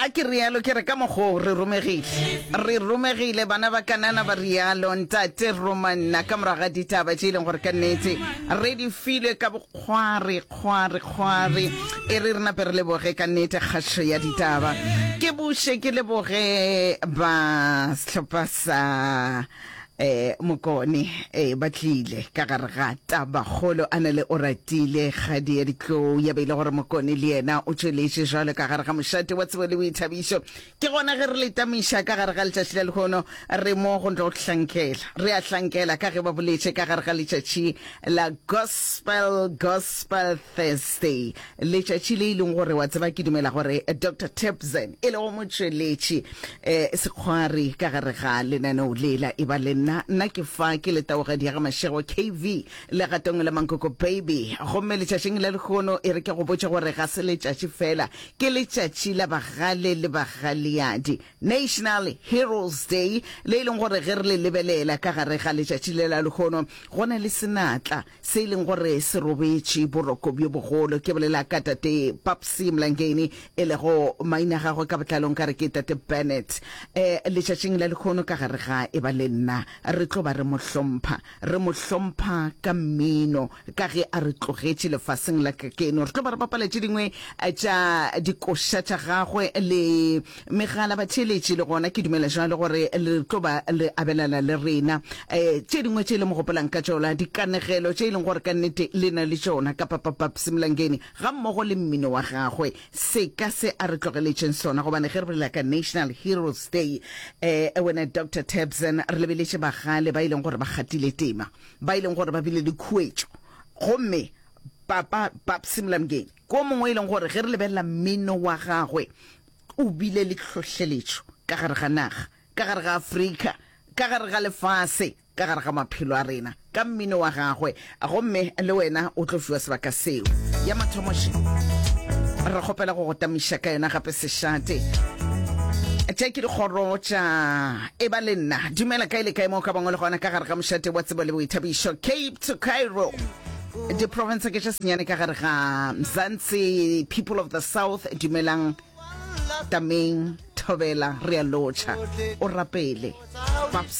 Ga ke rialo ke re ka mokgwa o re romegile. Re romegile bana ba Kanana ba rialo ntate roma nna ka morago ga ditaba tše e leng gore ka nnete re di filwe ka bokgware kgware kgware e re re nape re leboge ka nnete kgašo ya ditaba. Ke buše ke leboge ba sehlopha sa eh Mokone eh ba tlile ka gare ga tabakgolo a na le Oratile kgadi ya ditlou ya be e le gore Mokone le yena o tšweletše jwalo ka gare ga mošate wa tsebo le boithabišo. Ke gona ge re le tamiša ka gare ga letšatši la lehono re mo go tlo hlankela re a hlankela ka ge ba boletše ka gare ga letšatši la Gospel Gospel Thursday letšatši le e leng gore wa tseba ke dumela gore Doctor Tebzen e lego motšweletši eh, sekgwari ka gare ga lenaneo lela e ba le nna nna ke fa ke le taogadi ya ga Mashego KV legatong la Mankoko Baby gomme letšatšing la lehono e re ke go botše gore ga se letšatši fela ke letšatši la bagale le bagaleadi National Heroes Day le e leng gore ge re le lebelela ka gare ga letšatši le la lehono go na le senatla se e leng gore se robetše boroko bjo bogolo. Ke bolela ka Tate Papsy Mlangeni, e lego maina a gagwe ka botlalo nka re ke Tate Bennett. E, letšatšing la lehono ka gare ga e ba le nna, re tlo ba re mo hlompha. Re mo hlompha ka mmino, ka ge a re tlogetše lefaseng la kakeno. Re tlo ba re bapala tše dingwe tša dikoša tša gagwe le Megala batheeletši le gona ke dumela jwalo gore le tlo ba le abelana le rena um tše dingwe tše le mo gopolang ka tšona, dikanegelo tše e leng gore ka nnete le na le tšona ka Papa Babsy Mlangeni gammogo le mmino wa gagwe. Seka se a re tlogeletšeng sona gobane ge re bolela ka National Heroes Day um wena Doctor Tebsen re lebeletše bagale ba e leng gore ba kgathile tema, ba e leng gore ba bile le khuetšo gomme Papa Babsy Mlangeni ke o mongwe e leng gore ge re lebelela mmino wa gagwe O bile le tlhohleletšo ka gare ga naga, ka gare ga Afrika, ka gare ga lefase, ka gare ga maphelo a rena, ka mmino wa gagwe. Gomme le wena o tlo fiwa sebaka seo. Ya mathomo še, re kgopela go go tamiša ka yona gape sešate. Tše ke dikgoro tša Eba le nna. Dumela kae le kae mo o ka bangwe le gona ka gare ga mošate wa tsebo le boithabišo, Cape to Cairo. Diprofense ke tše senyane ka gare ga Mzansi, People of the South, dumelang Tameng, Thobela, re a lotšha. O rapele. Paps.